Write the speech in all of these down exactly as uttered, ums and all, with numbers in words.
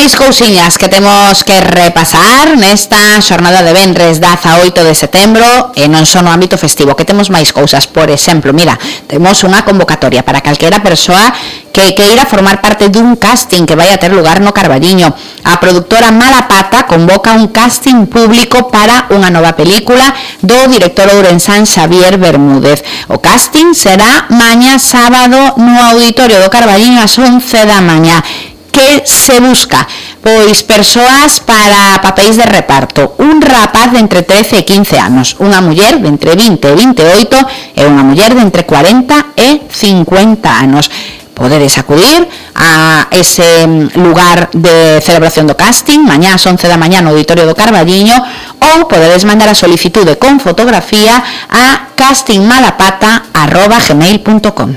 Máis cousiñas que temos que repasar nesta xornada de venres dezaoito de setembro e non só no ámbito festivo, que temos máis cousas. Por exemplo, mira, temos unha convocatoria para calquera persoa que queira formar parte dun casting que vai a ter lugar no Carballiño. A produtora Malapata convoca un casting público para unha nova película do director ourensán Xavier Bermúdez. O casting será mañá sábado no Auditorio do Carballiño ás once da mañá. Que se busca? Pois persoas para papéis de reparto. Un rapaz de entre trece e quince anos, unha muller de entre vinte e vinte e oito e unha muller de entre cuarenta e cincuenta anos. Podedes acudir a ese lugar de celebración do casting mañá ás once da mañá no Auditorio do Carballiño, ou podedes mandar a solicitude con fotografía a castingmalapata arroba gmail punto com.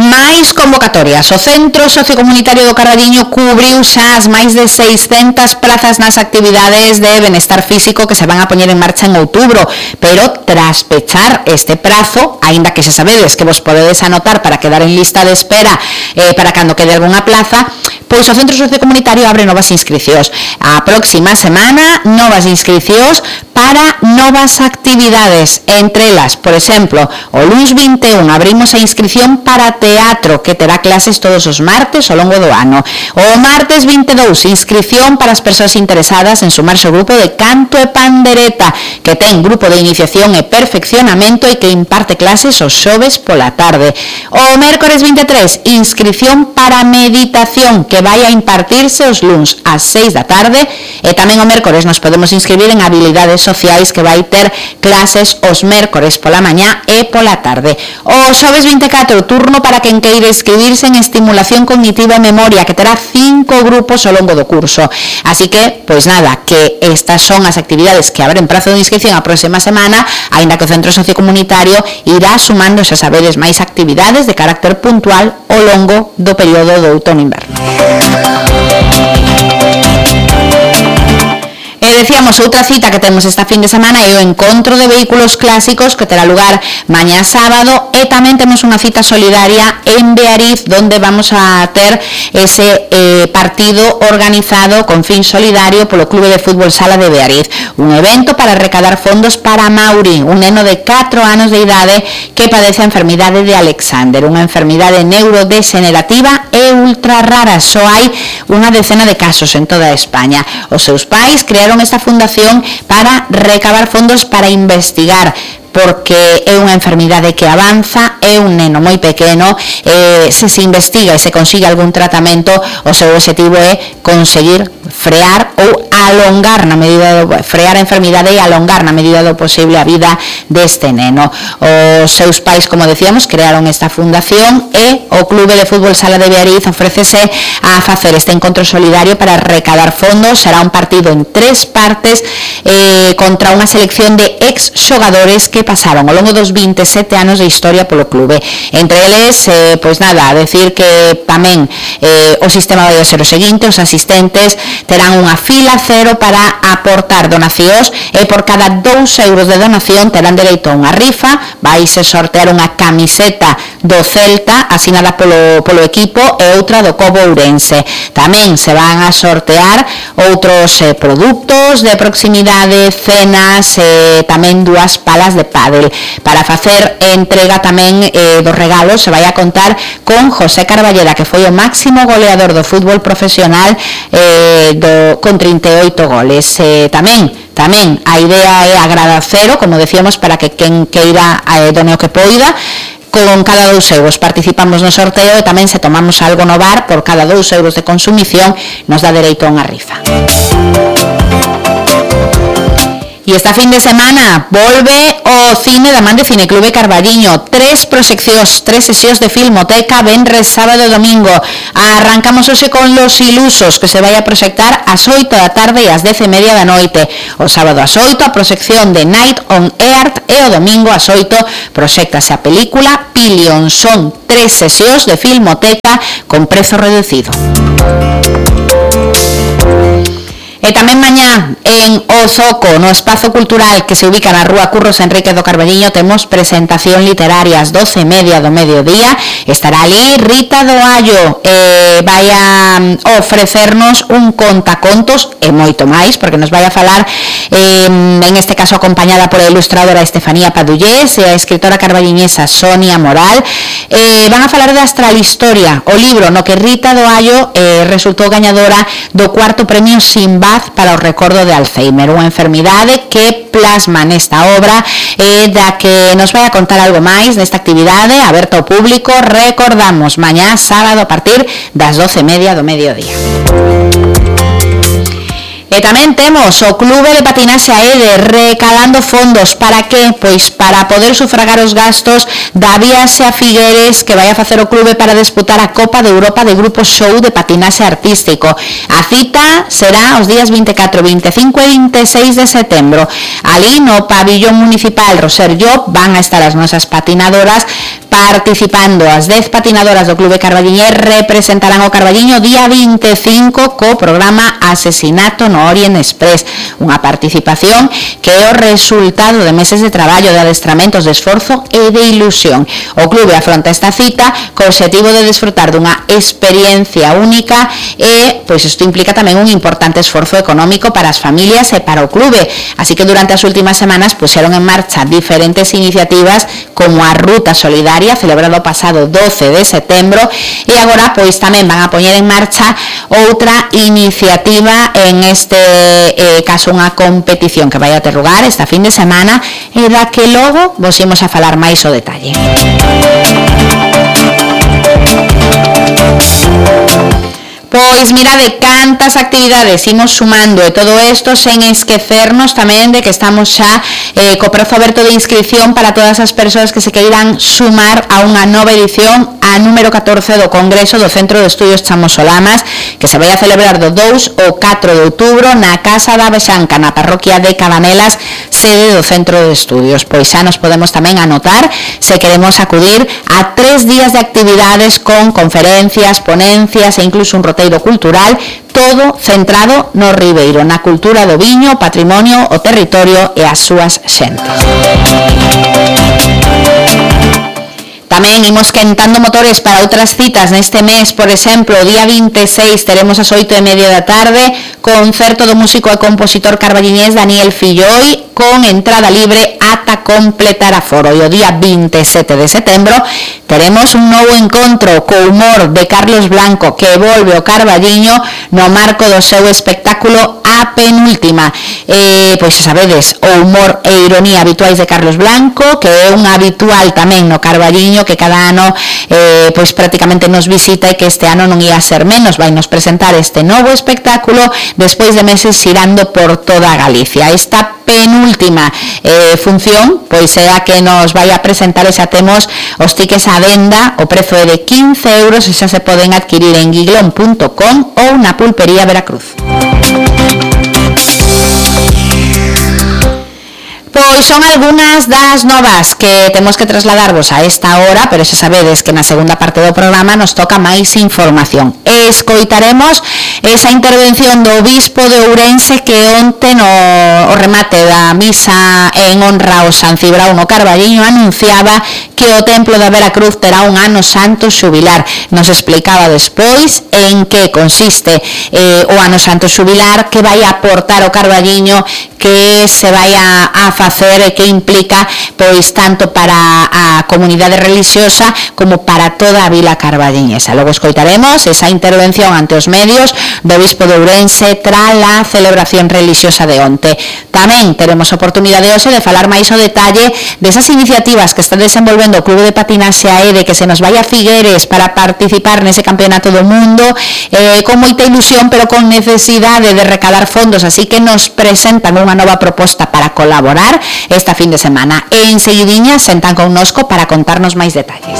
Máis convocatorias. O Centro Sociocomunitario do Carballiño cubriu xa as máis de seiscentas plazas nas actividades de benestar físico que se van a poñer en marcha en outubro, pero tras pechar este prazo, aínda que se sabedes que vos podedes anotar para quedar en lista de espera eh, para cando quede algunha plaza, pois o Centro Sociocomunitario abre novas inscricións. A próxima semana, novas inscricións para novas actividades, entre elas, por exemplo, o luns vinte e un abrimos a inscrición para teatro, que terá clases todos os martes ao longo do ano. O martes vinte e dous, inscrición para as persoas interesadas en sumarse ao grupo de canto e pandereta, que ten grupo de iniciación e perfeccionamento e que imparte clases os xoves pola tarde. O mércores vinte e tres, inscrición para meditación, que vai a impartirse os luns ás seis da tarde, e tamén o mércores nos podemos inscribir en habilidades sociais, que vai ter clases os mércores pola mañá e pola tarde. O xoves vinte e catro, turno para quen queira inscribirse en estimulación cognitiva e memoria, que terá cinco grupos ao longo do curso. Así que, pois nada, que estas son as actividades que abren prazo de inscripción a próxima semana, aínda que o Centro Sociocomunitario irá sumando, xa sabedes, máis actividades de carácter puntual ao longo do período do outono-inverno. E decíamos, outra cita que temos esta fin de semana é o encontro de vehículos clásicos que terá lugar mañá sábado, e tamén temos unha cita solidaria en Beariz, donde vamos a ter ese eh, partido organizado con fin solidario polo Clube de Fútbol Sala de Beariz, un evento para recadar fondos para Mauri, un neno de catro anos de idade que padece a enfermidade de Alexander, unha enfermidade neurodegenerativa e ultra rara. Só hai unha decena de casos en toda España. Os seus pais crearon esta fundación para recabar fondos para investigar, porque é unha enfermidade que avanza, é un neno moi pequeno, eh, se se investiga e se consigue algún tratamento, o seu objetivo é conseguir frear ou alongar na medida do, frear a enfermidade e alongar na medida do posible a vida deste neno. Os seus pais, como decíamos, crearon esta fundación e o Clube de Fútbol Sala de Beariz ofrécese a facer este encontro solidario para recadar fondos. Será un partido en tres partes eh, contra unha selección de ex xogadores que pasaron ao longo dos vinte e sete anos de historia polo clube. Entre eles, eh, pois nada, a decir que tamén eh, o sistema vai a ser o seguinte: os asistentes terán unha fila cero para aportar donacións e por cada dous euros de donación terán dereito a unha rifa. Vaise sortear unha camiseta do Celta asinada polo, polo equipo e outra do Cobo Ourense. Tamén se van a sortear outros eh, produtos de proximidade, cenas e eh, tamén dúas palas de pádel. Para facer entrega tamén eh, dos regalos se vai a contar con José Carballeda, que foi o máximo goleador do fútbol profesional eh, do, con trinta e oito goles. Eh, tamén Tamén a idea é agradecero, como decíamos, para que quen queira eh, done o que poida. Con cada dous euros participamos no sorteo e tamén se tomamos algo no bar, por cada dous euros de consumición nos dá dereito a unha rifa. E esta fin de semana volve o cine da man de Cineclube Carballiño. Tres proxeccións, tres sesións de filmoteca, venres, sábado e domingo. Arrancamos hoxe con Los Ilusos, que se vai a proxectar ás oito da tarde e ás dez e media da noite. O sábado ás oito a proxección de Night on Earth e o domingo ás oito proxectase a película Pillion. Son tres sesións de filmoteca con prezo reducido. E tamén mañá en O Zoco, no espazo cultural que se ubica na rúa Curros Enrique do Carballiño, temos presentación literaria ás doce e media do mediodía. Estará ali Rita do Allo, eh, vai a ofrecernos un contacontos e moito máis, porque nos vai a falar, eh, en este caso acompañada por a ilustradora Estefanía Padullés e a escritora carballiñesa Sonia Moral. Eh, van a falar de Astralhistoria, o libro no que Rita do Allo eh, resultou gañadora do cuarto premio Sinbad para o recordo de Alzheimer, unha enfermidade que plasma nesta obra e da que nos vai a contar algo máis nesta actividade aberta ao público. Recordamos, mañá sábado a partir das doce e media do mediodía. E tamén temos o Clube de Patinaxe a Ede recalando fondos. Para que? Pois para poder sufragar os gastos da viaxe a Figueres que vai a facer o clube para disputar a Copa de Europa de Grupo Show de Patinaxe Artístico. A cita será os días vinte e catro, vinte e cinco e vinte e seis de setembro. Ali no pabillón municipal Roser Llop van a estar as nosas patinadoras participando. As dez patinadoras do Clube Carballiñés representarán o Carballiño día vinte e cinco co programa Asesinato no Orient Express, unha participación que é o resultado de meses de traballo, de adestramentos, de esforzo e de ilusión. O clube afronta esta cita co obxectivo de desfrutar dunha experiencia única e, pois, isto implica tamén un importante esforzo económico para as familias e para o clube, así que durante as últimas semanas puxeron en marcha diferentes iniciativas como a Ruta Solidaria, celebrado o pasado doce de setembro, e agora pois tamén van a poñer en marcha outra iniciativa, en este eh, caso unha competición que vai a ter lugar esta fin de semana e da que logo vos imos a falar máis o detalle. Pois mirade cantas actividades imos sumando, e todo isto sen esquecernos tamén de que estamos xa eh, co prazo aberto de inscripción para todas as persoas que se queiran sumar a unha nova edición, a número catorce do Congreso do Centro de Estudios Chamosolamas, que se vai a celebrar do dous ao catro de outubro na Casa da Bexanca, na parroquia de Cabanelas, sede do Centro de Estudios. Pois xa nos podemos tamén anotar se queremos acudir a tres días de actividades con conferencias, ponencias e incluso un roteiro cultural, todo centrado no Ribeiro, na cultura do viño, patrimonio, o territorio e as súas xentes. Tamén imos quentando motores para outras citas neste mes. Por exemplo, o día vinte e seis teremos as oito e media da tarde concerto do músico e compositor carballiñés Daniel Filloi con entrada libre ata completar aforo. E o día vinte e sete de setembro teremos un novo encontro co humor de Carlos Blanco, que volve ao Carballiño no marco do seu espectáculo A Penúltima. Eh, pois xa sabedes, o humor e ironía habituais de Carlos Blanco, que é un habitual tamén no Carballiño, que cada ano eh, pois prácticamente nos visita, e que este ano non ia ser menos. Vai nos presentar este novo espectáculo despois de meses xirando por toda Galicia. Esta penúltima eh, función pois é a que nos vai a presentar, e xa temos os tickets á venda. O prezo é de quince euros e xa se poden adquirir en guiglón punto com ou na Pulpería Veracruz. Pois son algunhas das novas que temos que trasladarvos a esta hora, pero xa sabedes que na segunda parte do programa nos toca máis información. Escoitaremos esa intervención do Obispo de Ourense, que onte no o remate da misa en honra ao San Cibrao no Carballiño anunciaba que o Templo da Veracruz terá un ano santo xubilar. Nos explicaba despois en que consiste eh, o ano santo xubilar, que vai aportar o Carballiño, que se vai a, a facer e que implica pois tanto para a comunidade religiosa como para toda a vila carballiñesa. Logo escoitaremos esa intervención ante os medios do Obispo de Ourense tras a celebración religiosa de onte. Tamén teremos oportunidade hoxe de falar máis o detalle desas iniciativas que está desenvolvendo o Clube de Patinaxe a Ede, que se nos vai a Figueres para participar nese campeonato do mundo, eh, con moita ilusión pero con necesidade de recalar fondos, así que nos presentan unha nova proposta para colaborar esta fin de semana. E enseguidiña sentan connosco para contarnos máis detalles.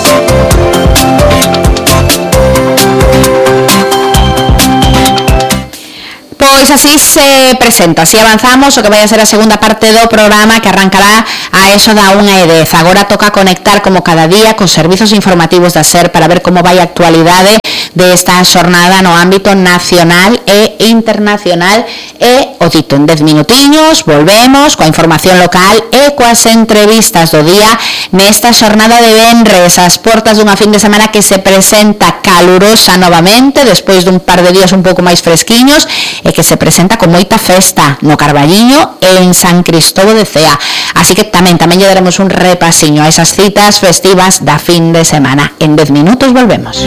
Pois así se presenta, así avanzamos o que vai a ser a segunda parte do programa, que arrancará a eso da unha e dez. Agora toca conectar como cada día cos servizos informativos da SER para ver como vai a actualidade desta xornada no ámbito nacional e internacional. E o dito, en dez minutiños volvemos coa información local e coas entrevistas do día nesta xornada de venres, as portas dunha fin de semana que se presenta calurosa novamente despois dun par de días un pouco máis fresquiños e que se presenta con moita festa no Carballiño e en San Cristóbal de Cea. Así que tamén tamén lle daremos un repasiño a esas citas festivas da fin de semana. En dez minutos volvemos.